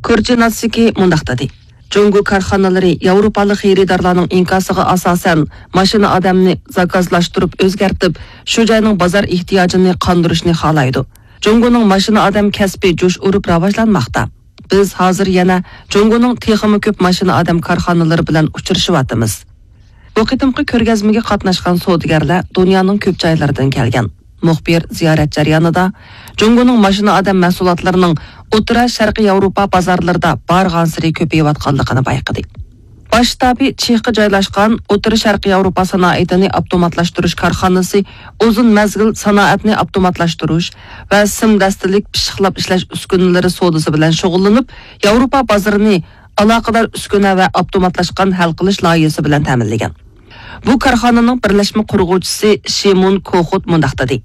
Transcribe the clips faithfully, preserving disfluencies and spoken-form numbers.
كورچىناتسكى مۇنداق دېدى: جۇڭگو كارخانىلىرى ياۋروپالىق خېرىدارلارنىڭ ئىنكاسىغا ئاساسەن، ماشىنا ئادەمنى زاكازلاشتۇرۇپ ئۆزگەرتىپ، شۇ جاينىڭ بازار ئېھتىياجىنى قاندۇرۇشنى خالايدۇ. جۇڭگونىڭ ماشىنا ئادەم كەسپى جۇش ئۇرۇپ راۋاجلانماقتا. بىز ھازىر يەنە جۇڭگونىڭ تېخىمۇ كۆپ ماشىنا ئادەم كارخانىلىرى بىلەن ئۇچرىشىۋاتىمىز. بۇ قېتىمقى كۆرگەزمىگە قاتناشقان سودىگەرلەر دۇنيانىڭ كۆپ جايلىرىدىن كەلگەن. مۇخبىر زىيارەت جەريانىدا جۇڭگونىڭ ماشىنا ئادەم مەھسۇلاتلىرىنىڭ ئوتتۇرا شەرقىي ياۋروپا بازارلىرىدا بارغانسېرى كۆپىيىۋاتقانلىقىنى بايقىدى. باش شتابى چېخقا جايلاشقان ئوتتۇرا شەرقىي ياۋروپا سانائىتىنى ئاپتوماتلاشتۇرۇش كارخانىسى ئۇزۇن مەزگىل سانائەتنى ئاپتوماتلاشتۇرۇش ۋە سىم دەستىلىك پىششىقلاپ ئىشلەش ئۈسكۈنىلىرى سودىسى بىلەن شۇغۇللىنىپ، ياۋروپا بازىرىنى ئالاقىدار ئۈسكۈنە ۋە ئاپتوماتلاشقان ھەل قىلىش لايىھىسى بىلەن تەمىنلىگەن. بۇ كارخانىنىڭ بىرلەشمە قۇرغۇچىسى شىمون كوخوت مۇنداق دېدى: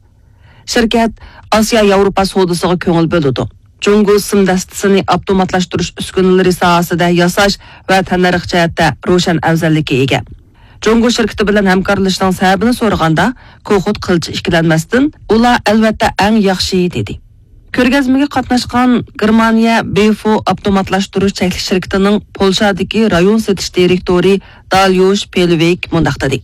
شىركەت ئاسىيا ياۋروپا سودىسىغا كۆڭۈل بۆلىدۇ. جۇڭگو سىم دەستىسىنى ئاپتوماتلاشتۇرۇش ئۈسكۈنىلىرى ساھەسىدە ياساش ۋە تەننەرخ جەھەتتە روشەن ئەۋزەللىككە ئىگە. جۇڭگو شىركىتى بىلەن ھەمكارلىشىشنىڭ سەۋەبىنى سورىغاندا، كوخوت قىلچە ئىككىلەنمەستىن، ئۇلار ئەلۋەتتە ئەڭ ياخشى، دېدى. كۆرگەزمىگە قاتناشقان گېرمانىيە بىفو ئاپتوماتلاشتۇرۇش چەكلىك شىركىتىنىڭ پولشادىكى رايون سېتىش دىرېكتورى داليوش پېلۋىك مۇنداق دېدى: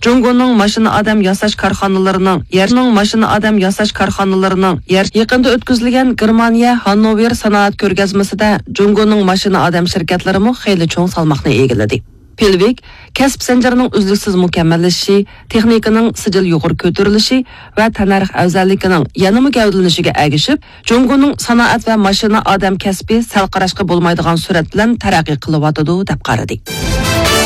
جۇڭگونىڭ ماشىنا ئادەم ياساش كارخانىلىرىنىڭ يەرنىڭ ماشىنا ئادەم ياساش كارخانىلىرىنىڭ يەر يېقىندا ئۆتكۈزۈلگەن گېرمانىيە ھاننوۋېر سانائەت كۆرگەزمىسىدە جۇڭگونىڭ ماشىنا ئادەم شىركەتلىرىمۇ خېلى چوڭ سالماقنى ئىگىلىدى. پېلۋىك كەسىپ زەنجىرىنىڭ ئۈزلۈكسىز مۇكەممەللىشىشى، تېخنىكىنىڭ سىجىل يۇقىرى كۆتۈرۈلۈشى ۋە تەننەرخ ئەۋزەللىكىنىڭ يەنىمۇ گەۋدىلىنىشىگە ئەگىشىپ، جۇڭگونىڭ سانائەت ۋە ماشىنا ئادەم كەسپى سەل قاراشقا بولمايدىغان سۈرئەت بىلەن تەرەققىي قىلىۋاتىدۇ، دەپ قارىدى.